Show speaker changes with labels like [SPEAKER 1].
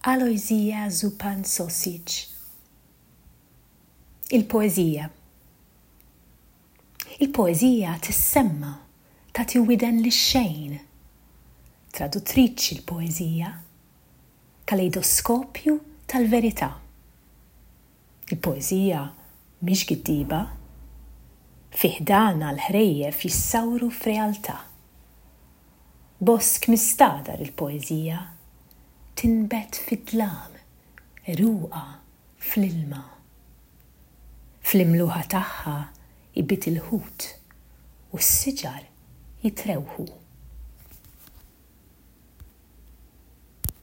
[SPEAKER 1] Alojzija Zupan Sosic Il-poeżija Il-poeżija tissemma, tagħti widen lix-xejn. Traduttriċi l-poeżija. Kalejdoskopju tal-verità. Il-poeżija mhix giddiba. Fi ħdanha l-ħrejjef jissawru f'realtà. Bosk mistagħdar il-poeżija tinbet fid-dlam, għeruqha fl-ilma. Fl-imluħa tagħha jbid il-ħut u s-siġar jitrewħu.